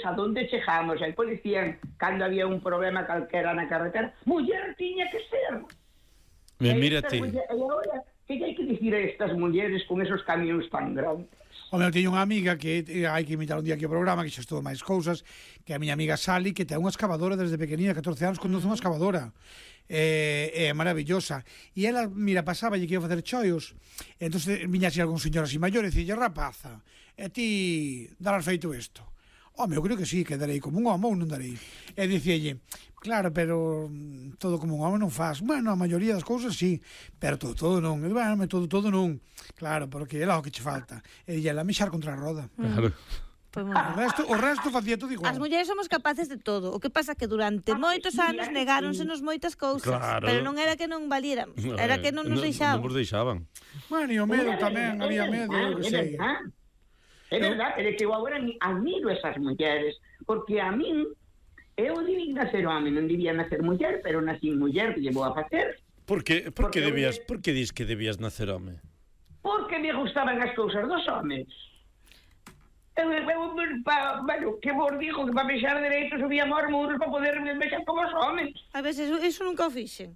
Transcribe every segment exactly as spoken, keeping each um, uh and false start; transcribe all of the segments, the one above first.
a donde chegamos, e pois dicían, cando había un problema calquera na carretera, muller tiña que ser. E mírate. E agora, que hai que dicir a estas mulleres con esos camións tan grandes? Home, eu teño unha amiga que eh, hai que invitar un día aquí ao programa, que xa estou máis cousas, que a miña amiga Sally, que ten unha excavadora desde pequenina, catorce anos, conduce unha excavadora. É eh, eh, maravillosa. E ela, mira, pasaba e que ia facer choios, e entón viña así algún señor así maior e dicía, rapaza, e ti darás feito isto? Home, eu creo que sí, que darei como un homo ou non darei. E dicíalle, claro, pero todo como un homo non faz. Bueno, a maioría das cousas sí, pero todo, todo non. E, bueno, todo, todo non. Claro, porque é lá o que che falta. E dille, ela mexar contra a roda. Claro. Pues o resto, o resto facía todo igual. As mulleres somos capaces de todo. O que pasa que durante moitos anos negáronsenos moitas cousas, claro. Pero non era que non valiéramos, era que non nos deixaban. Non nos deixaban. Bueno, e o medo tamén, había medo, eu que sei. É verdade, pero que eu agora admiro esas mulleres, porque a min, eu debía nacer home, non debía nacer muller, pero nací muller, que llevo a facer. Por que, por que debías, por que dis que debías nacer home? Porque me gustaban as cousas dos homes. Eu, eu, pa, bueno, que vos digo que para mexar dereitos subíamos aos muros para poder mexer como os homes. A veces, eso nunca o fixen.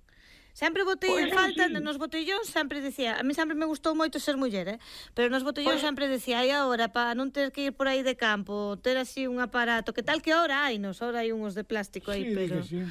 Sempre botei en falta, nos botellóns sempre decía, a mí sempre me gustou moito ser muller, eh? Pero nos botellóns pues, sempre decía, ai agora, para non ter que ir por aí de campo, ter así un aparato, que tal que ahora hai, nos, ahora hai unhos de plástico aí, sí, pero... Sí.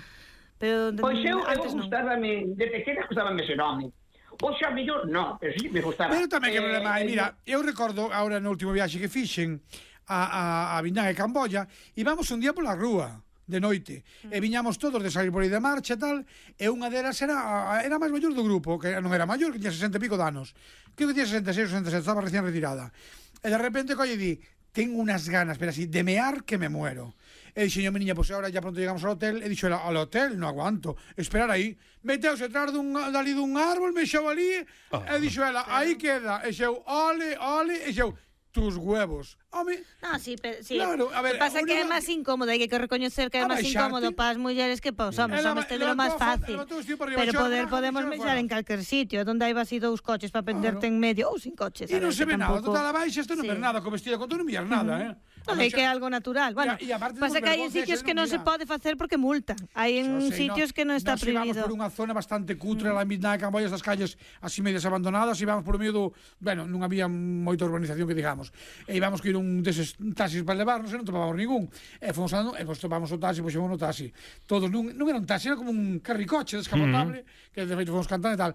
pero pois eu, eu antes gustábame, de pequena gustábame ser home. O xa mellor, non, pero sí me gustaba. Pero tamén que eh, problema hai, mira, eu recordo, agora no último viaxe que fixen a, a, a Viñán e Camboya, íbamos un día pola rúa, de noite, mm. e viñamos todos de salir por aí de marcha e tal, e unha delas era era máis maior do grupo, que non era maior, que tiña sesenta e pico de anos, creo que tiña sesenta e seis ou sesenta e sete, estaba recién retirada, e de repente colle di, tengo unas ganas, pero así, de mear que me muero. E dixo, yo, meniña, pois pues agora ya pronto llegamos ao hotel, e dixo, ao hotel, non aguanto, esperar aí, meteuse atrás dun, dali dun árbol, mexeu ali, oh, e dixo ela, aí queda, e xeu, ole, ole, e xeu, tus huevos. Home, no, sí, pero, sí. Claro, a ver, o que pasa que é máis incómodo, hai que recoñecer que é máis incómodo para as mulleres que para os homens. Os homens teñen máis fácil. Pero poder podemos mexer en calquer sitio, onde hai así dous coches para penderte en medio ou sin coches. E non se ve nada, total abaixo, isto non ver nada, co vestido con todo non vías nada, eh. É que é algo natural. Bueno, pasa que hai sitios que non se pode facer porque multan. Hai en sitios que non está prohibido. Nos íbamos por unha zona bastante cutre, lá en Viñán e Camboya, estas calles así medias abandonadas, íbamos por medio do, bueno, non había moita urbanización que digamos. E íbamos que ir un deses taxis para levarnos e non topábamos ningún. E fomos andando, e pois topamos o taxi, pois xemos no taxi. Todos non, non era un taxi, era como un carricoche descapotable, uh-huh. que de feito fomos cantando e tal.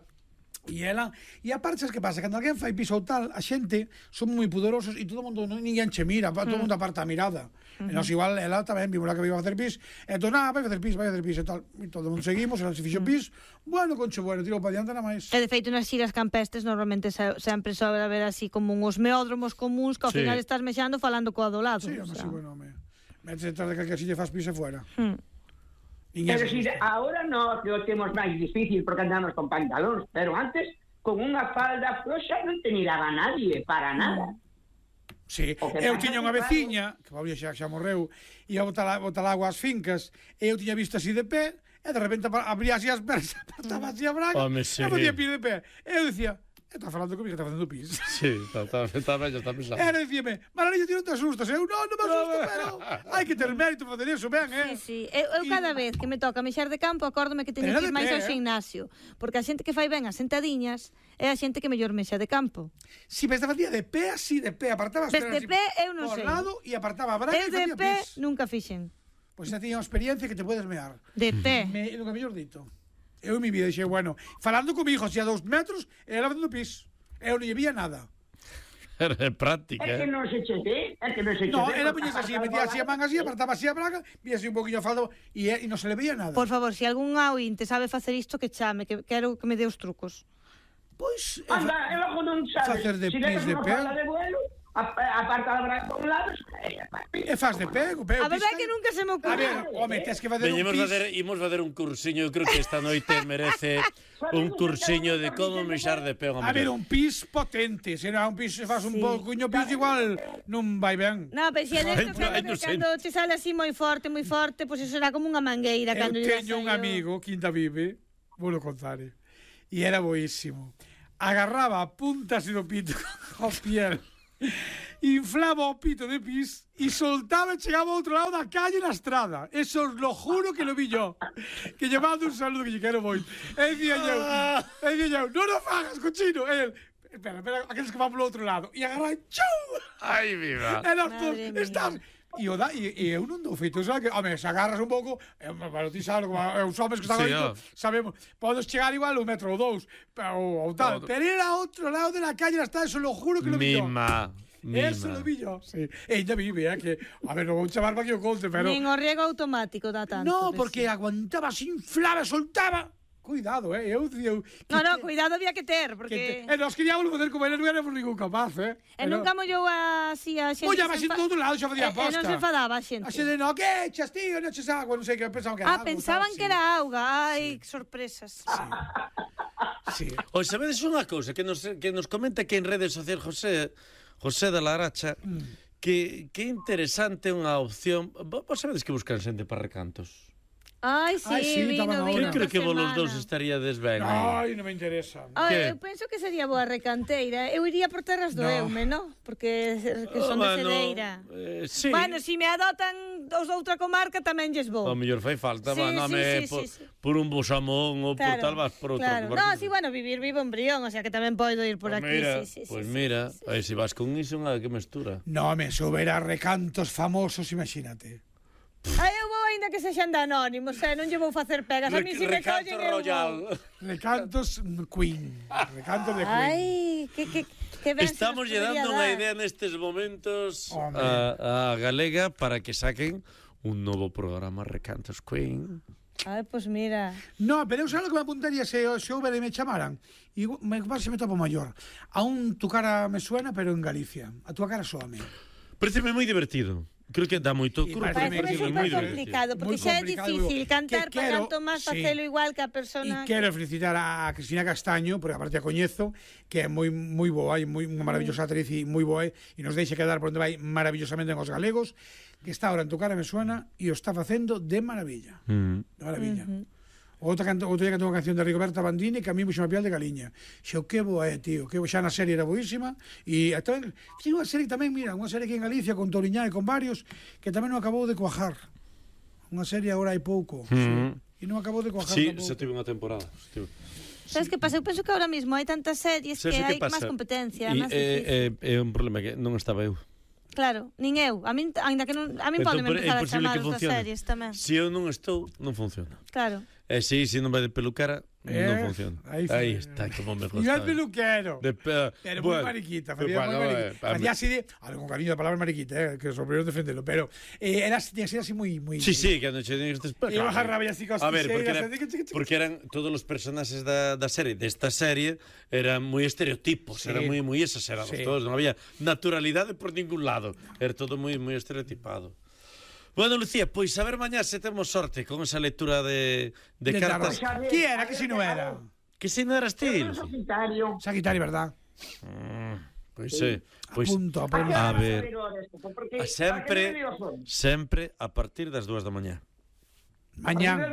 E ela, e aparte, que pasa? Cando alguén fai piso ou tal, a xente son moi pudorosos e todo o mundo, non, ninguén che mira, todo o mundo aparta a mirada. Uh-huh. E nos igual, ela tamén vimos que iba a facer pis, e entón, ah, vai facer pis, vai facer pis e tal. E todo o mundo seguimos, ela se fixo pis, bueno, concho, bueno, tiro para diante nada máis. E de feito, nas xiras campestres, normalmente se, sempre sobra ver así como uns meódromos comuns que ao sí. final estás mexando falando co do lado. Sí, o sea. Sí, bueno, me metes detrás de calquer sitio faz pis e fuera. Hmm. Pero si ahora no, que o temos máis difícil porque andamos con pantalóns, pero antes con unha falda floxa non te miraba nadie, para nada. Sí, eu tiña unha veciña, que Pablo xa, xa morreu, e ia botar, botar agua ás fincas, e eu tiña visto así de pé, e de repente abría así as pernas, apartaba así a braga, e podía pir de pé. E eu dicía, está falando comigo, está facendo pis. Sí, está, está, está, está, está pensando. Era dicíame, Maranillo, ti non te asustas. Eu, non, non me asusto, pero hai que ter mérito facer iso, ben, eh? Sí, sí. Eu, eu cada vez que me toca mexer de campo, acórdome que teño que ir máis ao gimnasio. Porque a xente que fai ben as sentadiñas é a xente que mellor mexa de campo. Si, ves, te facía de pé así, de pé, apartaba as pernas de pé, eu non sei. Por lado, e apartaba a braga e facía pis. Eu de pé nunca fixen. Pois xa tiña unha experiencia que te podes mear. De pé? Me, nunca mellor dito. Eu en mi vida dixei, bueno, falando con mi hijo así a dous metros, e ela facendo pis. Eu non lle vía nada. Era práctica. É que non se che ve, é que non se che no, ve. No, era puñese así, metía así a manga así, apartaba así a braga, vía así un poquinho a faldo e, e non se le veía nada. Por favor, se si algún ointe sabe facer isto, que chame, que quero que me dé os trucos. Pois... Anda, e logo non sabes. Facer de si pis de pé. De vuelo, aparta a braga por un lado, e faz de pé, pé. A verdade que nunca se me ocurre. A ver, home, tes que fazer un pis. Facer, imos facer un cursiño, eu creo que esta noite merece un cursiño de como mexar de pé. A ver, un pis potente, se non un pis, se faz un pouquinho pis igual non vai ben. No, pero se é desto cando te sale así moi forte, moi forte, pois eso será como unha mangueira. Eu teño un amigo, Quinta Vive, vou lo contar, e era boísimo. Agarraba a puntas do pito ao piel inflaba o pito de pis e soltaba e chegaba ao outro lado da calle na estrada. Eso os lo juro que lo vi yo. Que llevando un saludo que lle quero moito. E dicía eu, e dicía eu, non o fagas, cochino. E el, espera, espera, aqueles que van polo outro lado. E agarra, chau! Ai, viva. E nós todos, Madre mía. estás... E, o da, e, e eu non dou feito, sabe que, home, se agarras un pouco, é, bueno, ti sabes, como é, os homens que están Sí, aí, ó. sabemos, podes chegar igual un metro ou dous, ou, ou tal, Todo. pero era outro lado de la calle, está, eso lo juro que lo vi yo. Mima. Mima. Eso lo vi yo, sí. E ainda vive, eh, que, a ver, non vou chamar para que o conte, pero... Nin o riego automático dá tanto. No, que porque sí. aguantaba, se inflaba, soltaba. Cuidado, eh, eu... eu No, no, cuidado había que ter, que porque... te, e nos queríamos poder comer, non éramos ningún capaz, eh. E nunca mollou así a xente... Ollaba se así enfa- do outro lado, xa E- facía E aposta. non se enfadaba a xente. A xente, no, que echas, tío, non echas agua, non sei que, pensaban que era Ah, agua, pensaban tal, que sí. era auga. Ai, que sorpresas. Sí. Oye, sabedes unha cousa que nos, que nos comenta aquí en redes sociais José, José de la Aracha, Mm. que, que interesante unha opción. Vos sabedes que buscan xente para recantos? Ai, sí, Ai, sí, vino, estaban vino Eu ahora. creo esta que vos los semana. dous estaríades ben. aí. Ai, non me interesa. Ai, Que? eu penso que sería boa recanteira. Eu iría por terras do No. Eume, no? Porque que son de Ah, bueno, Cedeira. eh, sí. Bueno, si me adotan os de outra comarca tamén lles vou. O mellor fai falta, Sí, va, non sí, me sí, por, sí, sí. por un bosamón ou por tal vas por outro. claro. lugar. No, sí, bueno, vivir vivo en Brión, o sea que tamén podo ir por Pues aquí. mira, sí, sí, pues sí, mira, sí, sí, aí se vas con iso, nada que mestura. No, me subera recantos famosos, imagínate. Ai, eu vou aínda que sexan de anónimos, eh? Non lle vou facer pegas. A mí si me Recanto collen eu Royal. vou. Recantos Queen. Recantos de Queen. Ai, que, que, que ben se Estamos nos lle podría dando unha dar. idea nestes momentos Hombre. a, a Galega para que saquen un novo programa Recantos Queen. Ai, pois pues mira. No, pero eu sabes que me apuntaría se, se houbera e me chamaran. E me se me topo maior. Aún tu cara me suena, pero en Galicia. A tua cara soame. Pareceme moi divertido. Creo que dá moito E curto, parece Parece Pareceme super moi divertido. complicado, porque Moi xa é complicado, difícil digo, cantar que para quero- canto máis sí. facelo igual que a E persona. quero felicitar a Cristina Castaño, porque aparte a coñezo, que é moi moi boa, e moi unha maravillosa actriz e moi boa, e nos deixa quedar por onde vai maravillosamente en os galegos, que está ahora en tu cara me suena e o está facendo de maravilla. Mm. De maravilla. Outra canto, outro día cantou unha canción de Rigoberta Bandini que a mí puxo a piel de galiña. Xo, que boa é, tío, que xa na serie era boísima e tamén, tiene unha serie tamén, mira, unha serie aquí en Galicia con Toriñán e con varios que tamén non acabou de cuajar. Unha serie agora hai pouco. Mm. Sí. E non acabou de cuajar Sí, tampouco. se tive unha temporada. se tive. Sabes que pasa? Eu penso que ahora mismo hai tantas series Sabes que o que hai pasa? máis competencia, E, máis é, difícil. é, é un problema que non estaba eu. Claro, nin eu. A min, ainda que non, a min Entón, podeme por- é empezar a imposible chamar que outras funcione. series tamén. Se eu non estou, non funciona. Claro. E si, se non vai de pelucara, Eh, non funciona. aí Aí, foi. está, como me E gusta. el peluquero. De pe... Pero bueno, moi mariquita, pues facía bueno, moi eh, mariquita. a Facía mí- así de, algo con cariño da palabra mariquita, eh, que sobre non defendelo, pero eh, era así, así, así moi moi Sí, sí, que non che digas despois. E agarraba así cos A ver, porque, era, tixeiras, así que chiqui, chiqui. porque eran todos os personaxes da, da serie, desta serie, eran moi estereotipos, Sí. eran moi moi exagerados Sí. todos, non había naturalidade por ningún lado, era todo moi moi estereotipado. Bueno, Lucía, pois a ver mañá se temos sorte con esa lectura de, de, De cartas. tarot. Qui era, que si non era? Que se non eras ti, Eu Lucía? sou Sagitario. Sagitario, verdad? Pois sí, pois Apunto, apunto. A ver, Porque, a sempre, sempre a partir das dúas da mañá. Mañán.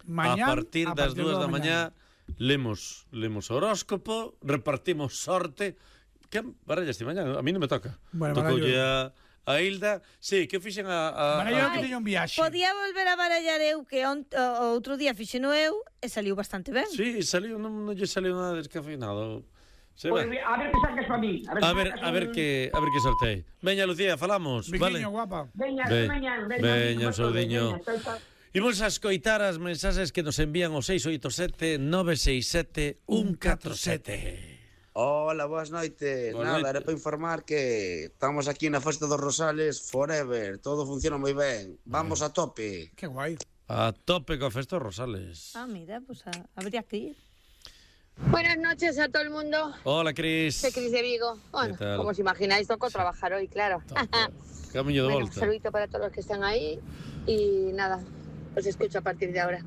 Mañán. A partir das dúas da mañá lemos lemos o horóscopo, repartimos sorte. Que barallas ti mañá? A mí non me toca. Bueno, Tocoulle a, a Hilda. Sí, que fixen a... a, Barallo a que teño un viaxe. Podía volver a barallar eu que ont, o, outro día fixeno eu e saliu bastante ben. Sí, saliu, non, non lle saliu nada descafeinado. Se Pues, va. a ver que sacas para mí. A ver, a ver que a ver que sortei. Veña, Lucía, falamos, vale? Biquiño, guapa. Veña, Ve- mañán, veña, veña, veña, saudiño. veña, chao, chao. Imos a escoitar as mensaxes que nos envían o seis oito sete nove seis sete un catro sete. Hola, boas noites. Boas Nada, noites. era para informar que estamos aquí na Festa dos Rosales forever. Todo funciona moi ben. Vamos a tope. Que guai. A tope co Festo Rosales. Ah, mira, pues a, habría que ir. Buenas noches a todo el mundo. Hola, Cris. Soy Cris de Vigo. Bueno, tal? como os imagináis, toco trabajar hoy, claro. Camiño de Bueno, un volta. saludito para todos los que están ahí y nada, os escucho a partir de ahora.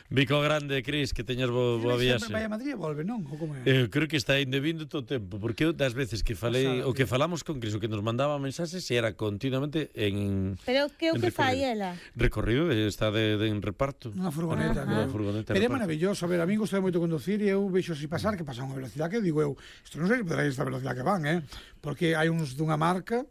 Bico grande, Cris, que teñas bo, boa viaxe. Sempre vai a Madrid e volve, non? Ou como é? Eu creo que está ainda vindo todo o tempo, porque eu das veces que falei, o que falamos con Cris, o que nos mandaba mensaxes, era continuamente en... Pero que o en que fai recorrido. ela? Recorrido, está de, de en reparto. Unha furgoneta. Unha furgoneta. Pero é reparto. maravilloso, a ver, a mí gusta moito conducir e eu vexo así pasar que pasa a unha velocidade que digo eu, isto non sei se podrá esta velocidade que van, eh? Porque hai uns dunha marca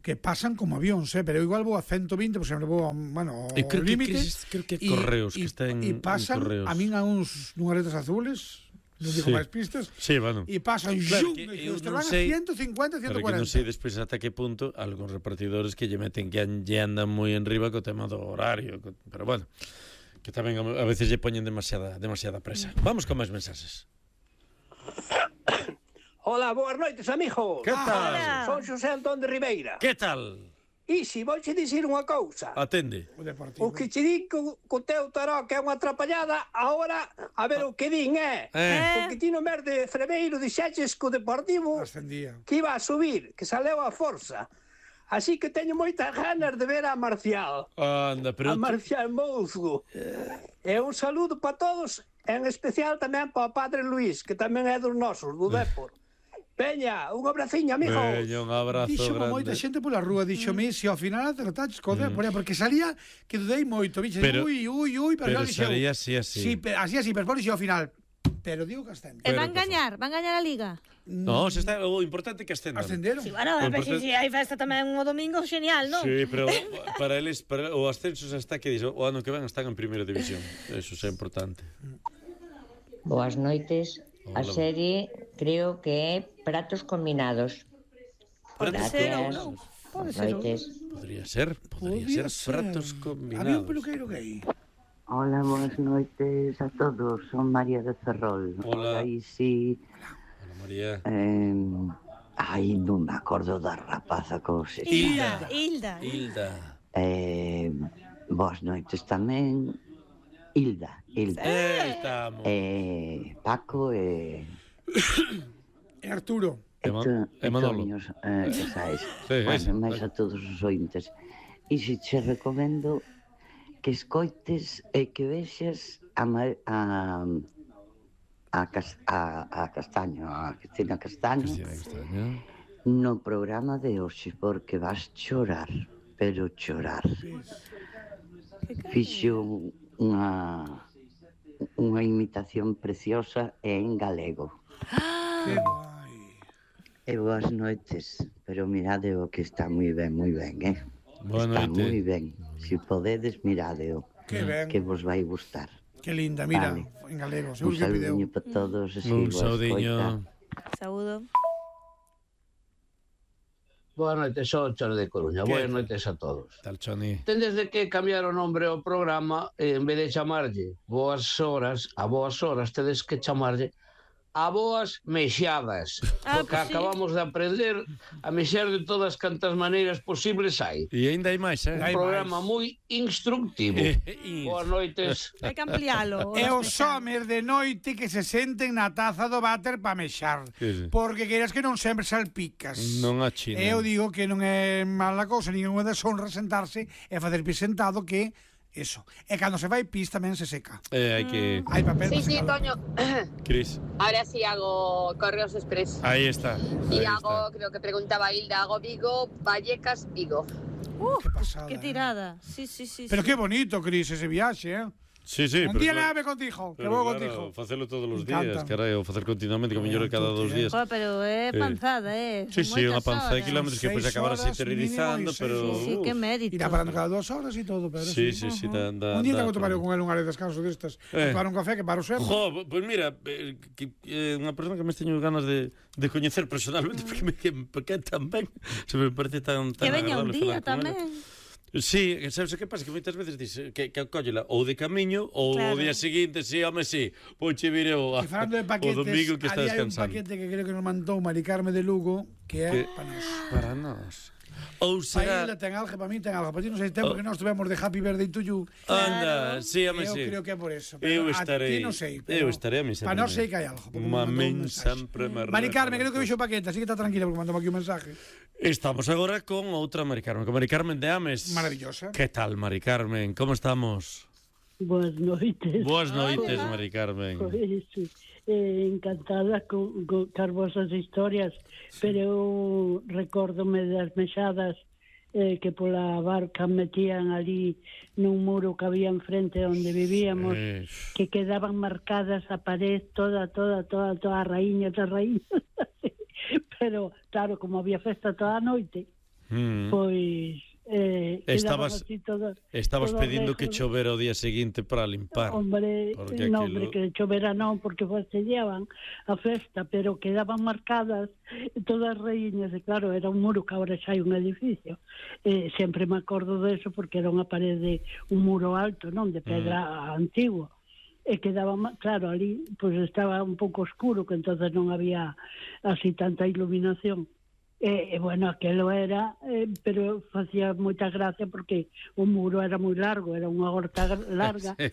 que pasan como avións, eh? Pero eu igual vou a ciento vinte, por exemplo, vou a, bueno, ao creo que, límite. Cris, creo que Correos, que está en, e pasan en Correos. a min a uns dunhas letras azules, non digo Sí. máis pistas, Sí, bueno. e pasan, Claro, claro, que que eu eu non van a sei- ciento cincuenta, ciento Pero que non cuarenta. sei despois ata que punto algúns repartidores que lle meten que an- lle andan moi en riba co tema do horario, co- pero bueno, que tamén a a veces lle poñen demasiada demasiada presa. Vamos con máis mensaxes. Hola, boas noites, amigos. Que tal? Hola. Son Xosé Antón de Ribeira. Que tal? E si, vou che dicir unha cousa. Atende. O deportivo. O que che di co, co teu taró que é unha atrapallada, agora a ver o que din, eh? Eh. Porque ti no mes de Freveiro dixeches co Deportivo Ascendía. que iba a subir, que saleu a forza. Así que teño moitas ganas de ver a Marcial. Anda, pero A Marcial Mouzgo. E un saludo para todos, en especial tamén para o padre Luís, que tamén é dos nosos, do Depor. Veña, un abraciño, amigos. Veña, un abrazo Dixo grande. moita xente pola rúa, dixome, se ao final acertaches co mm. porque salía que dudei moito, bicho, Pero- ui, ui, ui, pero pero, dixo, salía así, así. Sí, pe- así, así, pero por ao final, pero digo que ascende. E Pero, van por gañar, van gañar a Liga. No, se está, o importante é que ascendan. Ascenderon. Si, bueno, a ver, Importante- si, si hai festa tamén o domingo, genial, non? Sí, pero para eles para o ascenso xa está que dixo, o ano que ven están en primeira división. Eso é importante. Boas noites. A Hola. serie creo que é Pratos Combinados. Pratos Gracias. combinados. Pode ser, Noites. Podría ser, podría Podía ser pratos Había un combinados. peluqueiro gay. Hola, boas noites a todos. Son María de Ferrol. Hola. Aí sí. Hola, María. Eh, ai, non me acordo da rapaza como se Hilda. Hilda. Hilda. Eh, boas noites tamén. Hilda, Hilda. Eh, estamos. Eh, Paco e... E Arturo. E, Ema- to- e e Manolo. Toños, eh, esa es. Sí, Bueno, esa, máis vale. a todos os ointes. E se che recomendo que escoites e que vexas a, Ma- a, a, Cas- a, a Castaño, a Cristina Castaño, Cristina Castaño. no programa de hoxe, porque vas chorar, pero chorar. Fixo unha unha imitación preciosa e en galego. Que guai. E boas noites, pero mirade o que está moi ben, moi ben, eh? Boa Está noite. moi ben. Se podedes, miradeo, Que ben. que vos vai gustar. Que linda, mira, Vale. en galego, Un seguro que pideu. saludiño para todos. E Un sigo a saudiño. escoita. Saúdo. Boas noites, sou Chone de Coruña. Que Boas tal? noites a todos. Tal Choni. Tendes de que cambiar o nombre ao programa, eh, en vez de chamarlle Boas Horas, a Boas Horas, tedes que chamarlle a Boas Mexadas. Ah, Porque pues sí. acabamos de aprender a mexer de todas cantas maneiras posibles hai. E ainda hai máis, eh? Hai Un programa máis. moi instructivo. E- Boas noites. Hai que ampliálo. E os homes de noite que se senten na taza do váter pa mexar. Sí, sí. Porque queiras que non sempre salpicas. Non a China. E eu digo que non é mala cousa, nin é unha deshonra sentarse e facer pis sentado que eso. E cando se vai pis tamén se seca. Eh, hai que... Hai papel Sí, pa sí, secalo. Toño. Cris. Ahora sí hago Correos Express. Aí está. Y Aí hago, está. creo que preguntaba Hilda, hago Vigo, Vallecas, Vigo. Que pasada. Que eh. tirada. Sí, sí, sí. Pero sí. qué bonito, Cris, ese viaxe, eh? Sí, sí, Un pero día claro- nave contigo, que pero vou claro, contigo. facelo todos os Me días, encanta. carai, ou facer continuamente, que mellor é cada dos días. Joder, pero é Eh, panzada, eh. Sí, Son sí, unha moitas panza de horas. kilómetros que depois Seis acabarás horas interiorizando, mínimo e pero... seis, Sí, que mérito. Irá parando cada dúas horas e todo, pero Sí, sí, sí, da, da, Un día da, tengo que tomar pero- con él un área de descanso destas. Eh. Para un café que paro sempre. Jo, pois mira, eh, que, eh, unha persona que me teño ganas de, de coñecer personalmente porque me que, porque tan ben, se me parece tan, tan Que veña un agradable día falar con ela. tamén. Sí, sabes o que pasa? Que moitas veces dices que, que cóllela ou de camiño ou Claro. o día seguinte, sí, home, sí, pouche vire o, E falando o de paquetes, domingo que está ali hai un descansando. paquete que creo que nos mandou Mari Carme de Lugo, que é Que- para nós. Para nós. Ou Para será... ela ten algo, para mí ten algo. Para ti non sei tempo Oh. que nós tivemos de Happy Birthday to you. Anda, sí, home, Eu sí. creo que é por eso. Eu pero a estarei, ti non sei. eu estarei a mí Para nós sei que hai algo. porque me Uma mandou un men mensaje. sempre me Mari Carme, creo que recorda. vixo o paquete, así que está tranquila porque mandou aquí un mensaje. Estamos agora con outra Mari Carmen, con Mari Carmen de Ames. Maravillosa. Que tal, Mari Carmen? Como estamos? Boas noites. Boas noites, Mari Carmen. Pois, eh, encantada con, con as vosas historias, pero eu recórdome das mexadas eh, que pola barca metían ali nun muro que había enfrente onde vivíamos, Eh, que quedaban marcadas a pared toda, toda, toda, toda a raíña, toda a raíña. Pero, claro, como había festa toda a noite, mm. pois eh, Estabas- así todas, Estabas todas pedindo que lejos. chovera o día seguinte para limpar. Hombre, Porque no, aquilo- hombre, que chovera non, porque fastidiaban a festa, pero quedaban marcadas todas as raíñas, e claro, era un muro que agora xa hai un edificio. Eh, sempre me acordo de eso porque era unha parede, un muro alto, non, de pedra mm. antigua. E quedaba, ma- claro, ali pues estaba un pouco oscuro, que entonces non había así tanta iluminación. E, e bueno, aquelo era, eh, pero facía moita gracia porque o muro era moi largo, era unha horta gr- larga, Sí.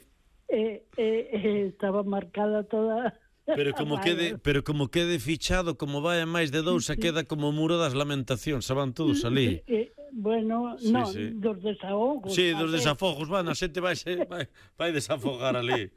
e, e, e estaba marcada toda... Pero como a quede, vaia. pero como quede fichado, como vai a máis de dous, se queda como o muro das lamentacións, saban todos ali. E, bueno, Sí, non, sí. dos desahogos. Sí, dos a ver. desafogos, van, a xente vai, se, vai, vai desafogar ali.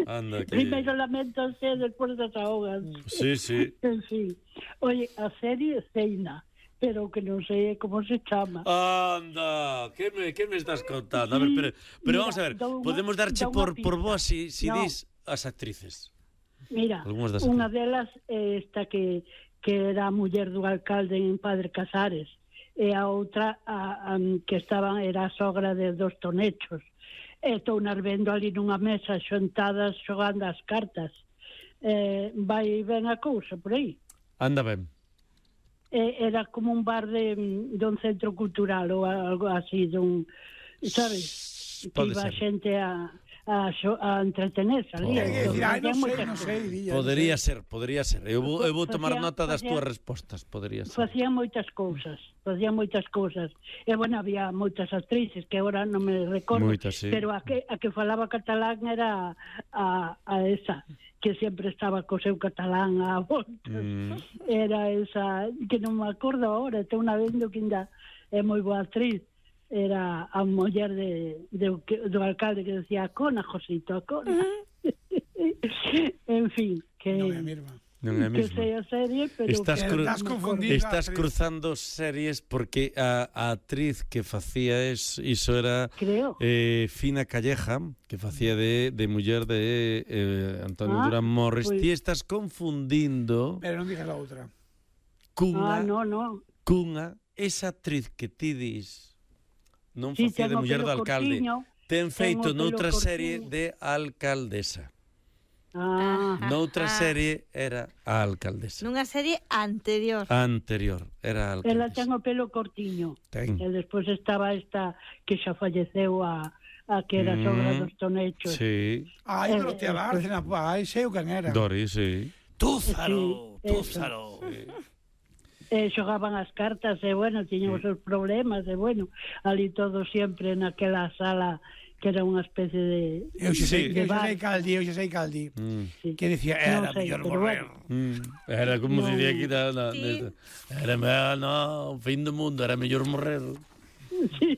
Anda, que... Primeiro lamentanse e despois desahogan. Sí, sí. En fin. Oye, a serie Ceina, pero que non sei como se chama. Anda, que me, que me estás contando? A ver, pero, pero Mira, vamos a ver, dá unha- podemos darche dá unha por, por pista. vos si, si No. dis as actrices. Mira, Algúnas das unha delas é esta que, que era a muller do alcalde en Padre Casares, e a outra a, a, que estaba era a sogra de dos tonechos. E estou nas vendo ali nunha mesa xontadas xogando as cartas. Eh, vai ben a cousa por aí. Anda ben. Eh, era como un bar de, de un centro cultural ou algo así, dun, sabes? Que Pode iba a ser. xente a, a, xo- a entretenerse ali. Oh. Entón, Ai, non facían sei, moitas non sei, cousas. Dilla, Podería ser, podría ser. Eu vou, eu vou tomar Facía- nota das facía- túas respostas, podría ser. Facían moitas cousas, facían moitas cousas. E, bueno, había moitas actrices que agora non me recordo, Moitas, sí. pero a que, a que falaba catalán era a, a esa, que sempre estaba co seu catalán a volta. Mm. Era esa, que non me acordo agora, estou na vendo que ainda é moi boa actriz. Era a muller de, de, do alcalde que decía Acona, Josito, Acona. En fin, que... Non é mesma. Non é que mesmo. sei a serie, pero... Estás, que cru... Estás non me confundindo. Estás actriz. cruzando series porque a, a actriz que facía es, iso era Creo. eh, Fina Calleja, que facía de, de muller de eh, Antonio Ah, Durán Morris. pois- Ti estás confundindo Pero non digas a outra. cunha, Ah, no, no. cunha esa actriz que ti dis non Sí, facía de ten o muller do pelo alcalde. cortiño, Ten feito ten o pelo noutra cortiño. serie de alcaldesa. Ah, Noutra Ah. serie era a alcaldesa. Nunha serie anterior. Anterior era a ela alcaldesa. ten o pelo cortiño. Ten. E despois estaba esta que xa falleceu a, a que era sogra Mm, dos tonechos. Sí, Ai, Eh, Dorotea eh, Bárcena, ai, sei o can era. Dori, sí. Túzaro, Sí, Túzaro. E xogaban as cartas, e bueno, tiñan os seus problemas, e bueno, ali todo sempre naquela sala que era unha especie de... Eu xa sei, Sí. eu xa bar. sei caldi, eu xa sei caldi. Mm. Sí. Que decía, Non era sei, mellor pero morrer. bueno. Mm. Era como No. se diría aquí na, na, Sí. nesta. Era me- no, fin do mundo, era mellor morrer. Sí.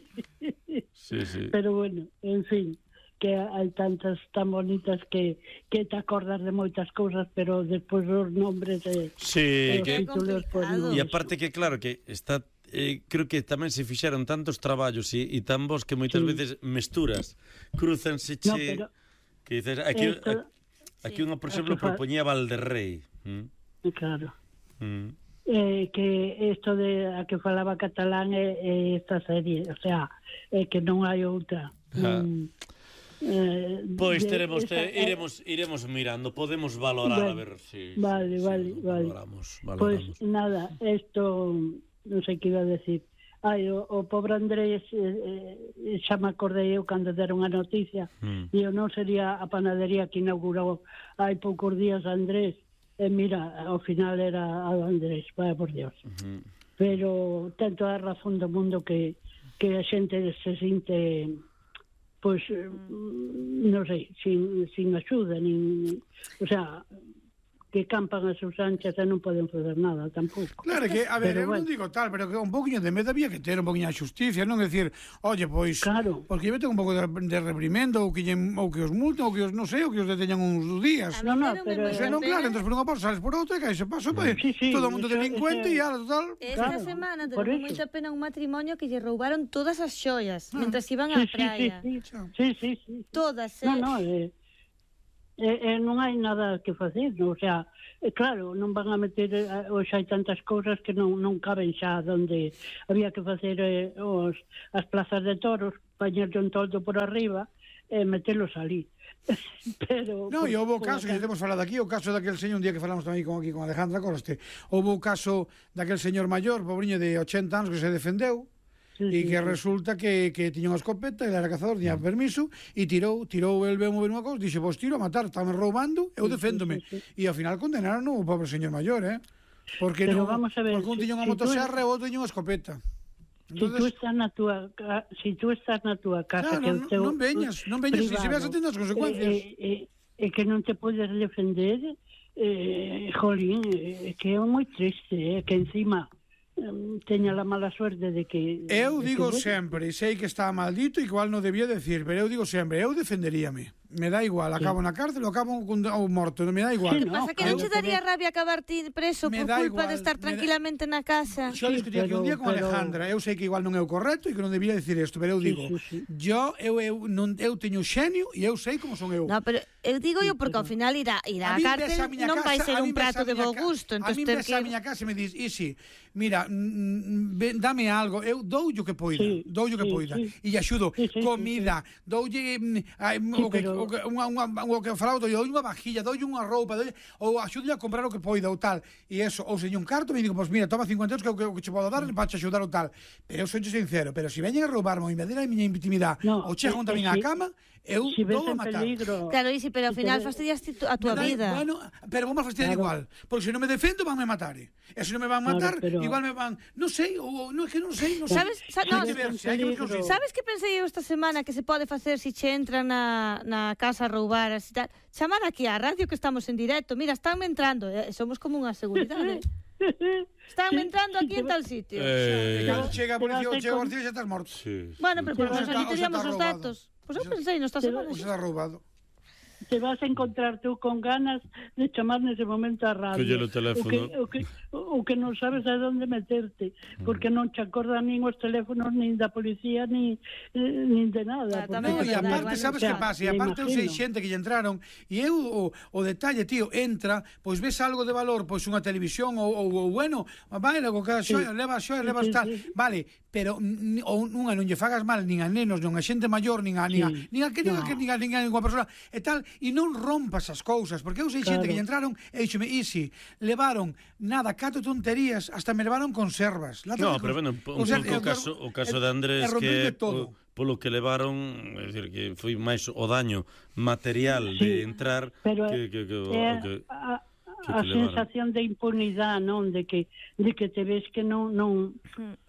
Sí, sí. Pero bueno, en fin, que hai tantas tan bonitas que, que te acordas de moitas cousas, pero despois os nombres e, Sí, e os que títulos pues, complicado. non. e aparte que claro que está eh, creo que tamén se fixeron tantos traballos e, e tan vos que moitas Sí. veces mesturas, cruzanse che No, pero que dices, aquí esto- aquí Sí. unha por exemplo Aquí fa- propoñía Valderrey. Mm. claro. Mm. Eh, que isto de a que falaba catalán é, é esta serie, o sea, é que non hai outra. Ah. Mm, eh, Pois de- teremos esta- te, iremos iremos mirando, podemos valorar a Bueno, ver si vale, si, vale, si, vale. valoramos, Pois valoramos. nada, isto non sei que iba a decir. Ai, o, o pobre Andrés eh, eh, xa me acordei eu cando deron a noticia. Mm. E eu non sería a panadería que inaugurou hai poucos días a Andrés. E mira, ao final era a Andrés, vaya por Dios. Ujú. Pero ten toda a razón do mundo que, que a xente se sinte pois, eh, non sei, sin, sin axuda, nin, o sea, que campan as sus anchas e non poden fazer nada tampouco. Claro que, a ver, Pero eu bueno. non digo tal, pero que un poquinho de medo había que ter un poquinho de xusticia, non decir, oye, pois, claro. porque eu tengo un pouco de, de reprimendo, ou que, lle, ou que os multen, ou que os, non sei, ou que os deteñan uns días. No, no, pero... O sea, non, claro, entón por unha porta sales por outra e cae se paso, pois, Sí, sí, todo o mundo eso- delincuente e eso- ala, total. Esta Claro, semana por tenemos eso. moita pena un matrimonio que lle roubaron todas as xoias Ah. mentras iban Sí, á sí, praia. sí, sí, sí, sí, sí. Todas, eh? No, no, eh, eh, eh, non hai nada que facer, no? O sea, eh, claro, non van a meter, eh, hoxe hai tantas cousas que non, non caben xa donde había que facer eh, os, as plazas de toros, pañerlle un toldo por arriba e eh, metelos ali. Pero... No, e houve o por- caso que temos falado aquí, o caso daquel señor, un día que falamos tamén con, aquí con Alejandra Coste, houve o caso daquel señor maior, pobriño de ochenta anos, que se defendeu, e que resulta que, que tiña unha escopeta, ele era cazador, tiña permiso, e tirou, tirou el veu mover unha cousa, dixe, vos tiro a matar, estame roubando, eu deféndome. E ao final condenaron o pobre señor maior, eh? Porque, Pero no, vamos a ver, porque un si- tiña unha si tú- motoserra e o outro tiña unha escopeta. Si tú estás na túa ca- si tú estás na túa casa, Claro, que é o non- teu non veñas, non veñas, se privado, ves atendo as consecuencias. E, e, e que non te podes defender, eh, jolín, eh, que é moi triste, eh, que encima eh, teña a mala suerte de que... Eu de digo que, sempre, e sei que está maldito e igual non debía decir, pero eu digo sempre, eu defenderíame. Me dá igual, acabo na cárcel ou acabo con, ou morto, non me dá igual. O que pasa que non che daría rabia acabar ti preso Me por dá culpa igual, de estar me da- tranquilamente na casa? Xa discutí aquí un día con pero- Alejandra, eu sei que igual non é o correcto e que non debía decir isto, pero eu digo, yo eu eu non eu teño xenio e eu sei como son eu. No, pero eu digo yo porque ao final ir a, ir A á min cárcel ves a miña non vai casa, ser a un min ves prato a de miña bo ca- gusto, A entón min ter ves que... a miña casa e me dis, Isi, mira, mm, ven, dame algo, eu dou o que poida, Sí, dou o que sí, poida, sí. e axudo, Sí, sí, sí, comida, doulle mm, ai, Sí, o que pero- o que unha unha o que falaba, dou unha vajilla, dou unha roupa, dou ou axudo a comprar o que poida ou tal, e eso, ou señor un carto, me digo, pois mira, toma cincuenta euros que é o que, o que che podo dar para te axudar ou tal. Pero eu sou sincero, pero se veñen a roubarme ou invadir a miña intimidade, No, ou chegan eh, tamén eh, á si- cama, eu si ves dou a en matar. peligro... Claro, Isi, pero ao Si final te- fastidias ti tu- a túa Me dá- vida. Bueno, pero vamos a fastidiar Claro. igual. Porque se non me defendo, vanme matar. E se non me van Claro, matar, pero- igual me van... Non sei, ou non é que non sei, non sei. Sabes, sa, Hai no, que ver, se hai que ver que non sei. sabes que pensei eu esta semana que se pode facer se che entran na, na casa a roubar así tal? Chamar aquí á radio que estamos en directo. Mira, estánme entrando, eh, somos como unha seguridade. Estánme entrando aquí en tal sitio. Eh, E cando chega a policía ou Te vas a chega a con- policía xa estás morto. sí. Bueno, pero por lo Ou menos xa está- aquí ou xa teríamos está os roubado. datos. Pois eu pensei, non esta Te- semana. Ou xa está roubado. te vas a encontrar tú con ganas de chamar nese momento a radio. Colle o teléfono. O que, o que, o que non sabes a onde meterte, porque non te acordan nin os teléfonos nin da policía nin, eh, nin de nada. Ah, porque- tamén No, é e verdade, aparte, igual, sabes o sea, que pasa? E me aparte eu sei imagino. xente que lle entraron e eu o, o detalle, tío, entra, pois ves algo de valor, pois unha televisión ou, ou, ou bueno, vai, logo que Sí. xoia, leva xoia, Sí, levas sí, tal. sí. Vale, pero n- ou nunha non lle fagas mal nin a nenos, nin a xente maior, nin a nin a, Sí. nin a que nin a No. que nin a nin a ninguna persona e tal, e non rompas as cousas, porque eu sei xente Claro. que lle entraron e dixome, Isi, levaron nada, cato tonterías, hasta me levaron conservas. Latas No, de pero cons- bueno, un o sea, pouco o e- caso, o caso e- de e Andrés rompeulle que todo. po- polo que levaron, é dicir, que foi máis o daño material de Sí, entrar pero que, que, que, o, é o que, a, que a te levaron. sensación de impunidade, non? De que, de que te ves que non... non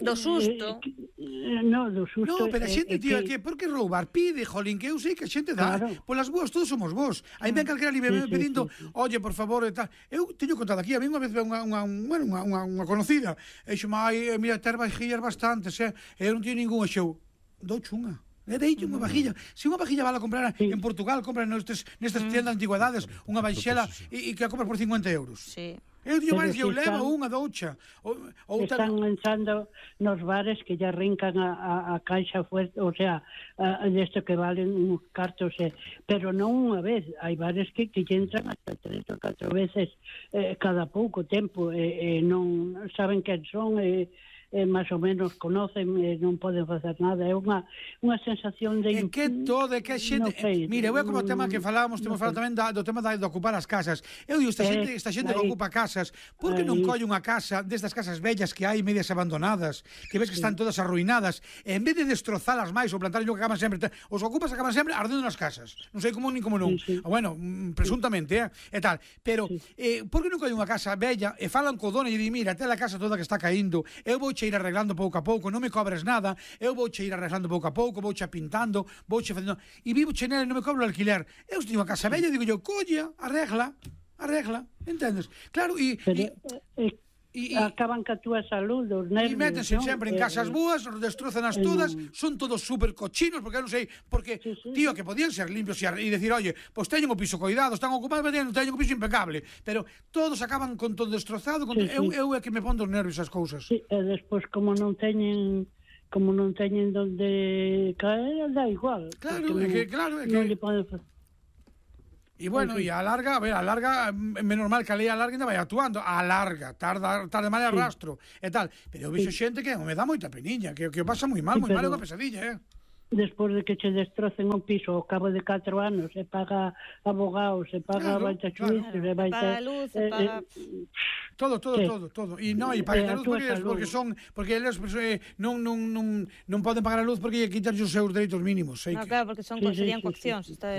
Do susto. Eh, que, eh, no, do susto. No, pero a é- xente, é tío, que por que roubar? Pide, jolín, que eu sei que a xente dá. Claro. Polas boas todos somos vos. Aí ven calquera libre Sí, sí, pedindo, sí, sí. oye, por favor, e tal. Eu teño contado aquí, a mí unha vez unha, unha, un- bueno, unha, unha, unha conocida, e xo, ai, mira, ter vajillas bastantes, eh? E eu non teño ningún, e xo, dou chunga. E deito unha vajilla. Se unha vajilla vala a comprar en Portugal, compra nestes, nestas tiendas de antigüedades, unha vaixela e, e que a compras por cincuenta euros. Sí. Eu digo, Pero máis, eu si levo están- unha doucha. Ou, ou Están entrando nos bares que ya rincan a, a, a caixa fuerte, o sea, a, a desto que valen uns cartos, eh, pero non unha vez. Hai bares que, que lle entran hasta tres ou catro veces eh, cada pouco tempo, e eh, eh, non saben quen son, e eh, eh, máis ou menos conocen, e eh, non poden facer nada. É unha, unha sensación de... En que todo, é que a xente... Non sei, Mira, eu é como o tema que mm, falábamos, temos non falado sei. tamén da, do tema da, de ocupar as casas. Eu digo, esta Eh, xente, esta xente que aí. ocupa casas, por que non Aí. colle unha casa destas casas bellas que hai, medias abandonadas, que ves que están todas arruinadas, e en vez de destrozalas máis ou plantar que acaban sempre, os ocupas acaban sempre ardendo nas casas. Non sei como nin como non. Sí, sí. Ah, bueno, mm, presuntamente, eh, e tal. Pero, eh, por que non colle unha casa bella e falan co dono e di, mira, te la casa toda que está caíndo, eu vou che ir arreglando pouco a pouco, non me cobres nada, eu vou che ir arreglando pouco a pouco, vou che pintando, vou che facendo, e vivo che nela e non me cobro o alquiler. Eu teño unha casa bella, digo yo, colla, arregla, arregla, entendes? Claro, e... E, acaban ca túa salud, os nervios. E métense sempre en casas boas, destrozan-as todas, son todos super cochinos, porque eu non sei, porque, tío, que podían ser limpios e decir, oye, pois teñen o piso coidado, están ocupados, teñen o piso impecable, pero todos acaban con todo destrozado, eu é que me pon dos nervios as cousas. Sí, e despois, como non teñen... como non teñen donde caer, da igual. Claro, é que, claro, é que... Non lle pode facer. E bueno, e a larga, a ver, a larga, menos mal que a lei a larga ainda vai actuando, a larga, tarda, tarda mal a rastro, e tal. Pero eu vexo xente que me dá moita peniña, que que pasa moi mal, moi mal, é unha pesadilla, eh. Despois de que che destrocen un piso ao cabo de catro anos, se paga abogados, se paga baita xuízos, se vai paga luz, se paga... Todo, todo, todo, todo. E non, e pagan a luz porque, porque son, porque eles eh, non, non, non, non poden pagar a luz porque quitan os seus dereitos mínimos. No, claro, porque son, serían coaccións, está...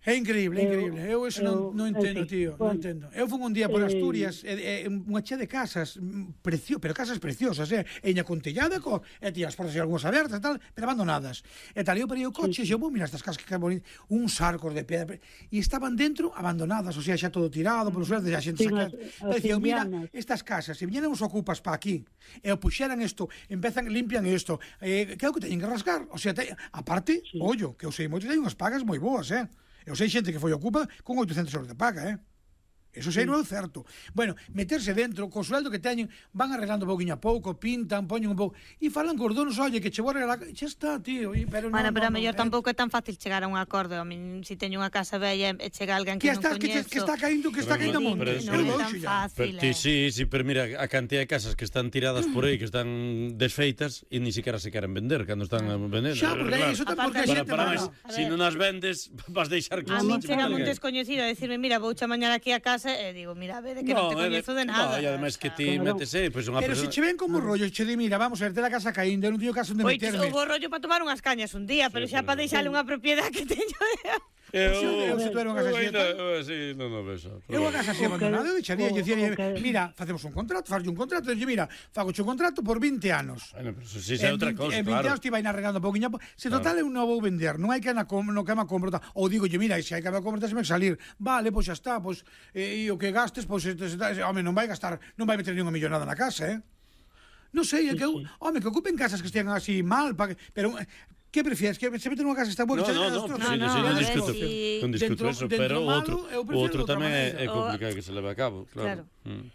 É increíble, é increíble. Eu eso non, non entendo, tío, non entendo. Eu fui un día por Asturias, e, e, unha chea de casas, precio, pero casas preciosas, eh? Eña con tellada, co, e tía as portas e algunhas abertas, tal, pero abandonadas. E tal, eu perei o coche, e eu, vou, mira estas casas que bonitas, uns arcos de pedra, e estaban dentro abandonadas, o sea, xa todo tirado, polos verdes, xa xente saca. E dicía, mira, estas casas, se viñeran os ocupas pa aquí, e o puxeran isto, empezan, limpian isto, eh, que é o que teñen que rascar, o sea, te, aparte, ollo, que eu sei moito, teñen unhas pagas moi boas, eh? Eu sei xente que foi ocupa con oitocentos euros de paga, eh? Eso sei non é certo. Bueno, meterse dentro, co sueldo que teñen, van arreglando pouquinho a pouco, pintan, poñen un pouco, e falan cos donos, oye, que che vou arreglar, xa está, tío. Pero bueno, no, pero no, a mellor no, tampouco é tan fácil chegar a un acordo. A min, se teño unha casa bella e chega alguén que, que non está, coñezo... Que, que está caindo, que está caindo monte. Non é tan fácil, eh. Sí, sí, pero mira, a cantidad de casas que están tiradas por aí, que están desfeitas, e ni siquiera se queren vender, cando están vendendo. Xa, porque iso tan porque a xente... Para máis, se non as vendes, vas deixar que... A min chega un descoñecido a decirme, mira, vou cha mañana aquí a casa, e digo, mira, ve, de que non te coñezo de nada. No, e ademais que ti métese, pois unha persona... Pero se che ven como rollo, che di, mira, vamos a ver, te la casa caindo, non teño casa onde meterme. Pois, houve rollo para tomar unhas cañas un día, pero xa para deixarle unha propiedade que teño... Eu, se tuera unha casa así, sí, non o vexo. Eu a casa así abandonada, eu deixaría, eu dicía, mira, facemos un contrato, farlle un contrato, e mira, fago un contrato por vinte anos. Bueno, pero eso sí é outra cousa, claro. En vinte anos te vai arreglando pouquinho, se total eu non vou vender, non hai que na no que me compro, ou digo, mira, se hai que me compro, se me salir, vale, pois xa está, pois e o que gastes, pois home, non vai gastar, non vai meter ningunha millonada na casa, eh? Non sei, é que eu, home, que ocupen casas que estean así mal, pero que prefieres? Que se mete nunha casa que está boa? No, no, no, no, sí, sí, non discuto, non discuto eso, pero o outro, o outro tamén é complicado que se leve a cabo, claro.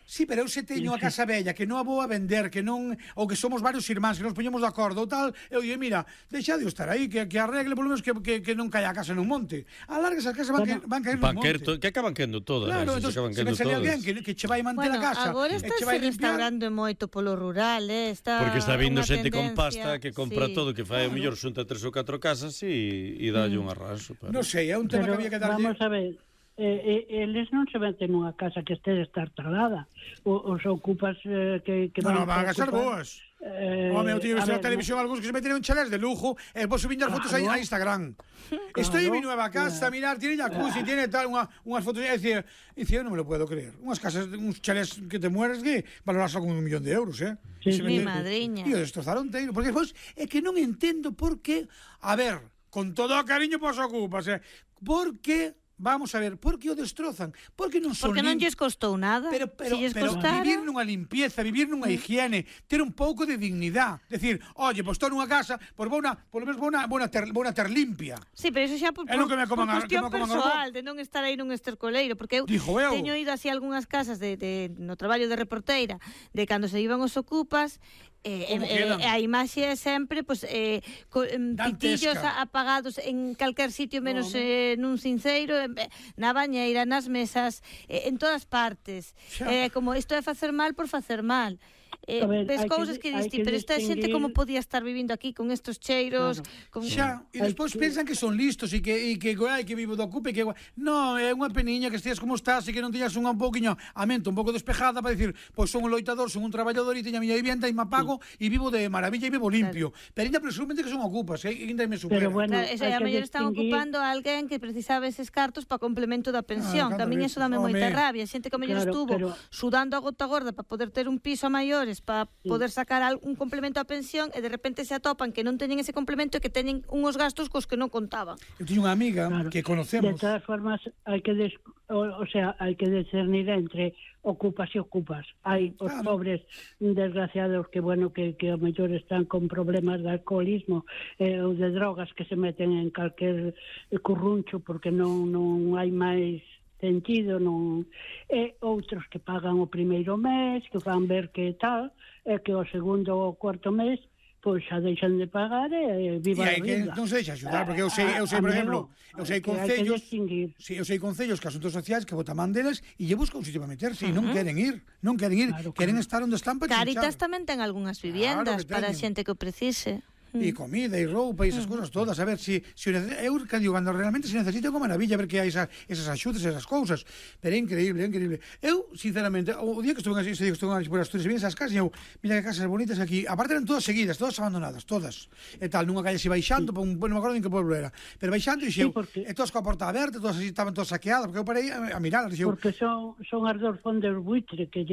Sí, pero eu se teño a casa bella, que non a vou a vender, que non, ou que somos varios irmáns, que nos poñemos de acordo ou tal, eu digo, mira, deixa de estar aí, que, que arregle, por lo menos que, que, que non caia a casa nun monte. A larga esas casas van, que, van caer nun monte. Que acaban quendo todas, claro, se acaban quendo todas. Se me sale alguén que, que che vai manter bueno, a casa, agora e che vai limpiar. Agora está restaurando moito polo rural, eh? Está porque está vindo xente con tendencia, pasta que compra sí, todo, que fai o mellor xunta tres ou catro casas e, e dalle un arraso. Pero... Non sei, é un tema pero, que había que darlle... Vamos a ver, eh, eh, eles non se meten nunha casa que este destartalada. O, os ocupas eh, que, que van, no, van a ser boas. Eh, Home, eu teño visto na televisión algúns que se meten en chalés de lujo e vos subindo as fotos a Instagram. Estoy en mi nueva casa, a mirar, tiene jacuzzi, tiene tal, unha, unhas fotos, é dicir, eu non me lo puedo creer. Unhas casas, uns chalés que te mueres que valorarse con un millón de euros, eh? Sí, mi madriña. E o destrozaron teiro, porque despois é que non entendo por que, a ver, con todo o cariño pos ocupas, eh? Por que vamos a ver, por que o destrozan? Porque non son Porque non lles costou nada. Pero, pero, si lles pero costara... vivir nunha limpieza, vivir nunha higiene, ter un pouco de dignidade. Decir, oye, pois estou nunha casa, pois vou na, por lo menos vou na, vou na, ter, vou na ter limpia. Sí, pero iso xa por, por, que me coman, por cuestión que me persoal, de non estar aí nun estercoleiro, porque eu, eu. teño ido así a algunhas casas de, de, no traballo de reporteira, de cando se iban os ocupas, Eh, eh, a imaxe é sempre pues, eh, co, eh, pitillos apagados en calquer sitio menos no, no. Eh, nun cinceiro, eh, na bañeira, nas mesas, eh, en todas partes. Eh, como isto é facer mal por facer mal. Eh, ver, ves cousas que, que diste, pero esta xente como podía estar vivindo aquí con estos cheiros, claro. con... Xa, e despois que... pensan que son listos e que e que ai que vivo do ocupe, que no, é unha peniña que estías como estás e que non teñas unha un pouquiño a mente un pouco despejada para dicir, pois son un loitador, son un traballador e teño a miña vivienda e me apago e vivo de maravilla e vivo limpio. Claro. Pero ainda presumamente que son ocupas, eh, ainda me supera. Pero bueno, claro, eso, a mellor están ocupando a alguén que precisaba eses cartos para complemento da pensión. Ah, Tamén iso dame moita rabia, xente que a mellor claro, estuvo pero... sudando a gota gorda para poder ter un piso a maior maiores para poder sacar un complemento á pensión e de repente se atopan que non teñen ese complemento e que teñen unhos gastos cos que non contaban. Eu teño unha amiga Claro. que conocemos. De todas formas, hai que des, o, o sea, hai que discernir entre ocupas e ocupas. Hai os Claro. pobres desgraciados que, bueno, que, que ao mellor están con problemas de alcoholismo eh, ou de drogas que se meten en calquer curruncho porque non, non hai máis sentido, non, e outros que pagan o primeiro mes, que van ver que tal, e que o segundo ou cuarto mes pois xa deixan de pagar e viva E a hai que vida. non se deixa axudar, porque eu sei, eu sei, por exemplo, eu sei que hai que concellos, distinguir. sí, eu sei concellos que asuntos sociais que botan mandelas e lle busca un sitio para meterse e non queren ir, non queren ir, Claro, queren claro. estar onde están para Caritas chinchar. tamén ten algunhas Claro viviendas que para a teñen. xente que o precise. E comida e roupa e esas cousas todas, a ver se si, si eu que digo, cando realmente se necesita, como maravilla ver que hai esa, esas axudas, esas cousas, pero é increíble, é increíble. Eu, sinceramente, o día que estuve en ese día que estuve en por Asturias, vi esas casas e eu, mira que casas bonitas aquí, aparte eran todas seguidas, todas abandonadas, todas. E tal, nunha calle así baixando, sí. non me acordo en que pueblo era, pero baixando e xeu, Sí, porque... e todas coa porta aberta, todas así estaban todas saqueadas, porque eu parei a, a mirar, e xeu, Porque son, son as dos fondos buitre que